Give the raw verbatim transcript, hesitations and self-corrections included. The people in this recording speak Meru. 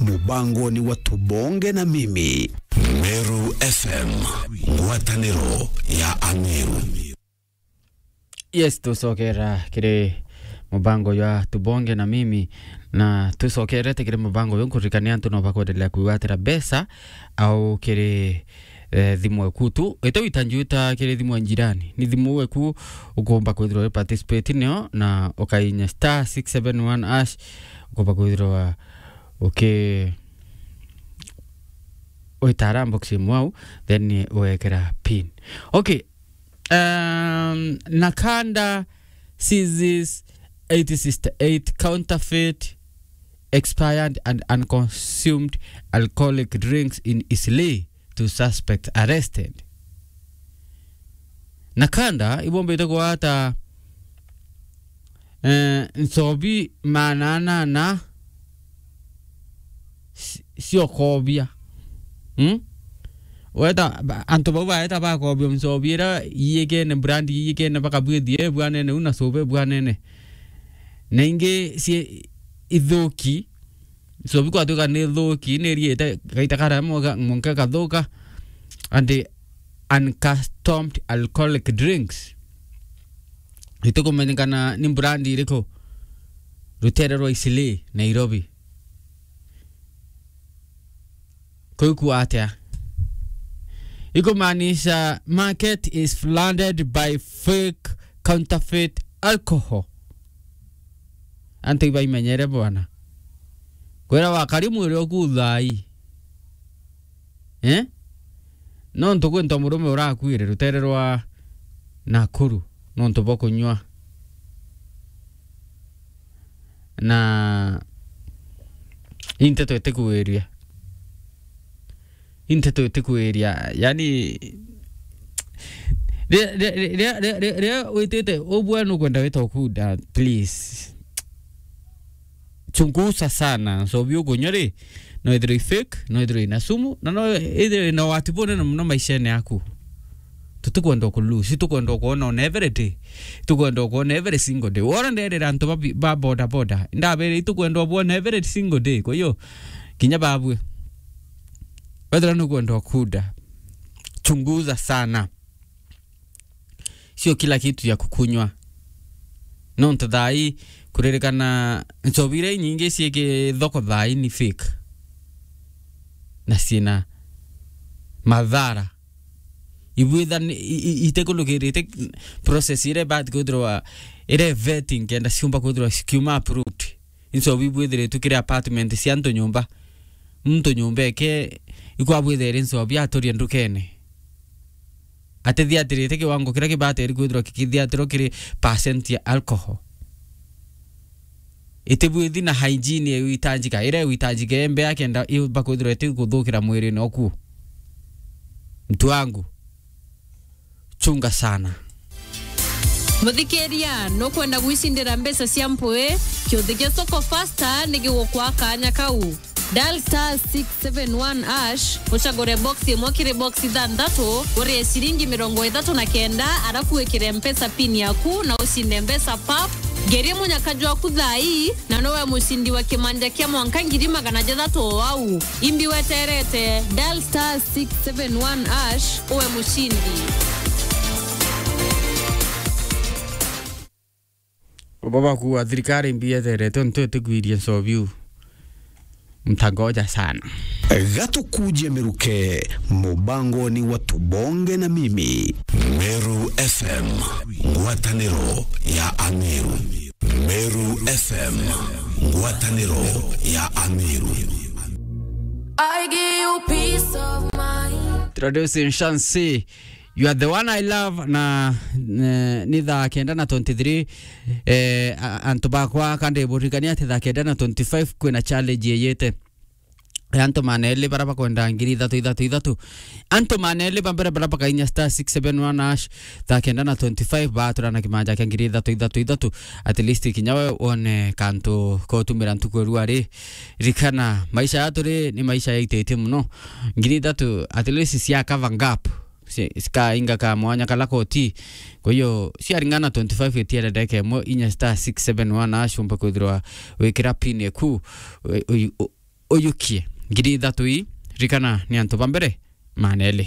Mubangoni wa Tubonge na Mimi. Meru F M, ngwataniro ya Ameru. Yes, tucokera kiri mubango jwa Tubonge na Mimi, na tucokerete kiri mubango uyu, nkuririkania antu no bakwendelea kwigwatira mbeca au kiri, eh, thimu eku tu. Ite wita njuta kiri thimu ya njirani. Ni thimu eku ukumba kwithirwa wi participate nio na ukainya star six seven one hash, ukumba kwithirwa uki-, witara box imwe au, then wekera pin. Okay. Um, Nakanda seizes eight sixty-eight counterfeit, expired and unconsumed alcoholic drinks in Eastleigh, two suspects arrested. Nakanda ibombite kugwata, eh, nchobi maana anana ci-, ciokobia. Hmm? Weta, ba-, antu bau baeta bakobia nchobi ira iyikene, brand iyikene, bakabwithia ebwanene u na sobe ebwanene. Na ingi cie ithuki, nchobi kwatuika ni ithuki, ni iriite gaita karia mwa-, mwanka ikathuka, and uncustomed alcoholic drinks. Itikumenyekana ni brand iriku, rutere rwa Eastleigh, Nairobi. Kuu kua atia? Ikumaanisha market is flooded by fake counterfeit alcohol. Antu ibaimenyere bwana. Kwira wakari mwiri oku thaai. Eh? Nontu kwinto murume urakuire rutere rwa Nakuru nontu bwa kunyua. Na i nteto itikwiria. I nteto itikwiria. Yani, ri-, ri-, ri-, ri-, ri-, ri-, riria witite ubwe nukwenda wita ukuda, please. Chunguza sana. Nchobi ukunywa ri, no ithirwe i fake, no ithirwe ina sumu, na no ithirwe ina wati bunene muno maishene yaku. Tutikwenda ku lose, itukwenda kwona on every day. Itukwenda kwona every single day. Wona nderera antu ba bi-, ba boda boda, ndabere itukwenda kwona every single day. Kwa hiyo, kinya babwe, wethira nukwenda kuda, chunguza sana. Sio kila kitu ya kukunywa. Nontu thaai, kuririkana nchobi iria inyingi ciiki thoko thaai ni fake. Na ciina mathara. Ibwitha ni, i-, i-, itikulukirite process iria ibati kwithirwa, iria vetting kenda ciumba kwithirwa cikiuma approved. Inchobi ibwithiritwe kiri apartment cia antu nyumba. Muntu nyumba eke, ikwabwitha iri nchobi aturie ndukene. Atithiatirite kiwango kiria kibateri kwithirwa kikithiatirwa kiri percent ya alcohol. Itibwithi na hygiene iria itanjika, iria itanjika embe akenda iumba kwithirwa itikuthukira mwirine oku. Mtu wangu, chunga sana. Muthikiria, nukwenda gwicindira mbeca cia mpui? Kiuthi gia Soko Fasta ni gigukwa kanya kau. Dial star six seven one hash, ucagure box imwe kiri box ithanthatu, urie ciringi mirongo ithatu na kenda, arafu wikire Mpesa pin yaku na ucinde mbeca pap. Ngerie munyaka jwaku thaa ii, na nowe mucindi wa kimanja kia mwanka ngiri magana jathatu o au. Imbi weterete, dial star six seven one hash, uwe mucindi. Ubo bakuuga thirikari mbi yeterete untu itigwirie nchobi u. Mtangoja sana. Gatukuje miruke mubangoni wa Tubonge na Mimi. Meru F M, ngwataniro ya Ameru. Meru F M, ngwataniro ya Ameru. I give you peace of mind. Introducing Shansi. You are the one I love na, eh, ni thaa kenda na twenty-three. Eh, a-, antu bakwa, kandi buririkania ati thaa kenda na twenty-five kwina challenge iyite ya antu maneli bara bakwenda ngiri ithatu ithatu ithatu. Antu maneli ba mbere bara bakainya star six seven one hash, thaa kenda na twenty-five batura na kimanja kia ngiri ithatu ithatu ithatu. At least kinya we wone kantu kotumira ntuku erua ri. Rikana, maisha yatu ri ni maisha yaitete muno. Ngiri ithatu at least cia cover gap. Ci-, cikainga ka mwanya kala koti. Kwa hiyo, ciaringana twenty-five itiere ndeka imwe, inya star six seven one hash umbe kwithirwa wikira pin eku, u-, u-, u-, uyukie ngiri ithatu ii, ririkana ni antu ba mbere maana eli.